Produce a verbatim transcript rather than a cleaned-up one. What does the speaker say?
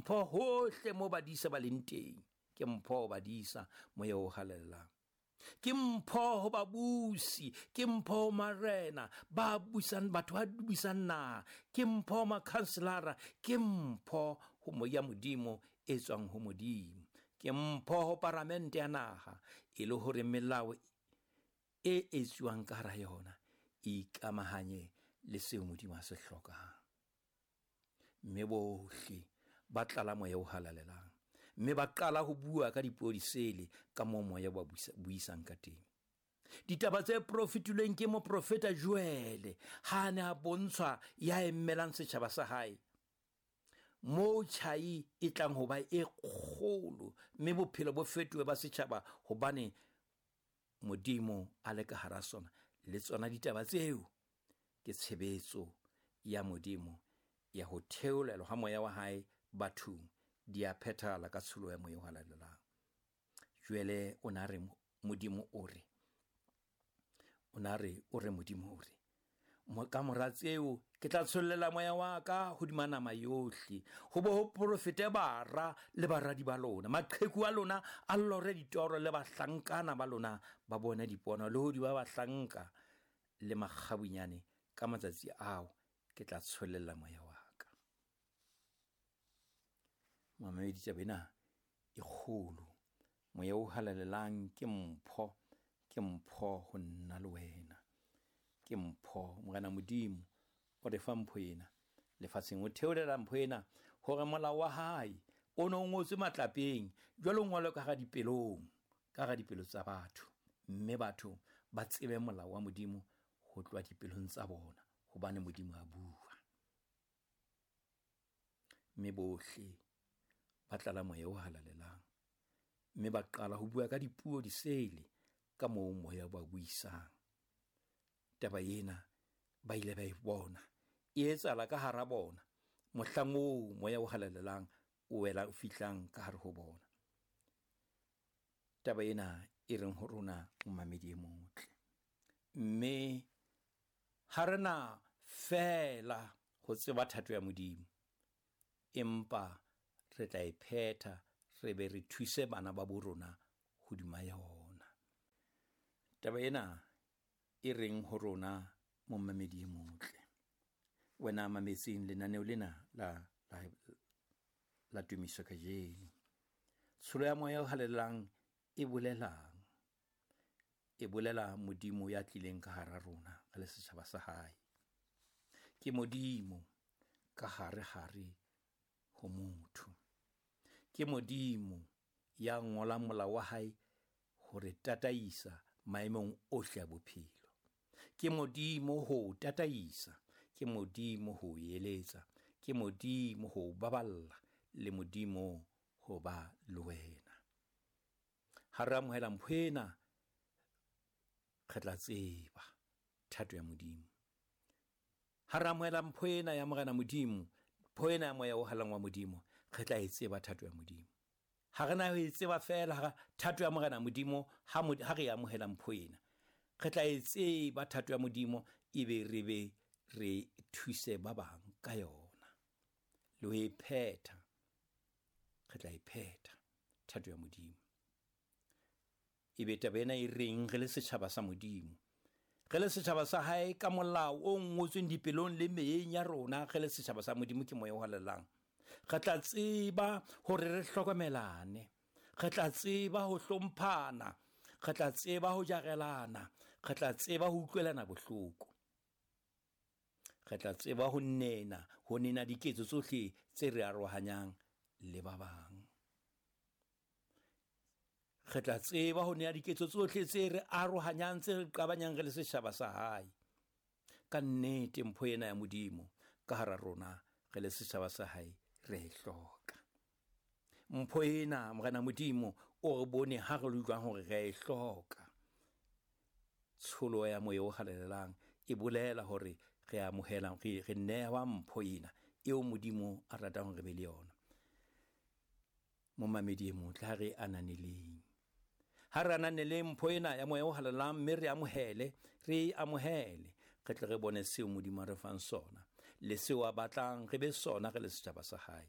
mpho hohle mo badisa ba leng teng. Ke mpho ho badisa moya o halalelang. Ke mpho ho babusi, ke mpho ho marena ba busang batho ba busang naha, ke mpho ho makhanselara, ke mpho ho moya Modimo e tswang ho Modimo. Ke mpho ho paramente ya naha e le hore melao e etsuwang ka hara yona e ikamahanye le seo Modimo a se hlokang. Mme bohle ba tlala moya o halalelang, mme ba qala ho bua ka dipuo disele ka moo moya ba buisang ka teng. Ditaba tse profetilweng ke moprofeta Joele ha a ne a bontshwa ya emelang setjhaba sa hae, moo tjhai e tlang ho ba e kgolo mme bophelo bo fetohe ba setjhaba hobane Modimo a le ka hara sona. Le tsona ditaba tseo ke tshebetso ya Modimo ya ho theolelwa ha moya wa hae bathong, di a phethahala ka tsholo ya moya o halalelang. Jwale o na re Modimo o re, o na re o re Modimo o re, ka mora tseo ke tla tshollela moya wa ka hodima nama yohle, ho bo ho profete bara le baradi ba lona, maqheku a lona a lore ditoro le bahlankana ba lona ba bone dipono, le hodima bahlanka le makgabunyane ka matsatsi ao ke tla tshollela moya wa ka. Mamedi, taba ena e kgolo. Moya o halalelang ke mpho, ke mpho ho nna le wena, ke mpho. Morena Modimo o re fa mpho ena lefatsheng, o theolela mpho ena hore molao wa hae o no ngotswe matlapeng, jwale o ngolwe ka hara dipelong, ka hara dipelo tsa batho, mme batho ba tsebe molao wa Modimo ho tloha dipelong tsa bona, hobane Modimo a bua. Mme bohle ba tlala moya o halalelang, mme ba qala ho bua ka dipuo disele ka moo moya ba buisang. Taba ena ba ile ba e bona e etsahala ka hara bona mohlang oo moya o halalelang o wela o fihlang ka hare ho bona. Taba ena e reng ho rona momamedi e motle, mme ha re na feela ho tseba thato ya Modimo, empa re tla e phetha re be re thuse bana ba bo rona hodima yona. Taba ena e reng ho rona momamedi e motle, wena mametseng lenaneo lena la la la tumiso kajeno. Tsholo ya moya o halalelang e bolelang? E bolela Modimo ya tlileng ka hara rona re le setjhaba sa hae. Ke Modimo ka hare hare ho motho. Ke Modimo ya ngolang molao wa hae hore tataisa maemong ohle a bophelo. Ke Modimo ho tataisa, ke Modimo ho eletsa, ke Modimo ho baballa, le Modimo ho ba le wena. Ha re amohela mpho ena, re tla tseba thato ya Modimo. Ha re amohela mpho ena ya Morena Modimo, mpho ena ya moya o halalelang wa Modimo, re tla e tseba thato ya Modimo. Ha re na ho e tseba feela thato ya Morena Modimo ha ha re amohela mpho ena, re tla e tseba thato ya Modimo, ebe re be re thuse ba bang ka yona le ho e phetha. Re tla e phetha thato ya Modimo. Ebe taba ena e reng re le setjhaba sa Modimo, re le setjhaba sa hae ka molao o ngotsweng dipelong le meyeng ya rona, re le setjhaba sa Modimo ke moya o halalelang, re tla tseba hore re hlokomelane, re tla tseba ho hlomphana, re tla tseba ho jarelana, re tla tseba ho utlwelana bohloko, re tla tseba ho nena ho nena diketso tsohle tse re arohanyang le ba bang. Re tla tseba ho nea diketso tsohle tse re arohanyang, tse re qabanyang re le setjhaba sa hae. Ka nnete mpho ena ya Modimo ka hara rona re le setjhaba sa hae re e hloka. Mpho ena Morena Modimo o re bone ha re utlwang hore re e hloka. Tsholo ya moya o halalelang e bolela hore re amohela, re re newa mpho ena eo Modimo a ratang hore re be le yona. Momamedi e motle, ha re ananeleng, ha re ananeleng mpho ena ya moya o halalelang, mme re amohele, re amohele, re tle re bone seo Modimo a re fang sona le seo a batlang re be sona re le setjhaba sa hae.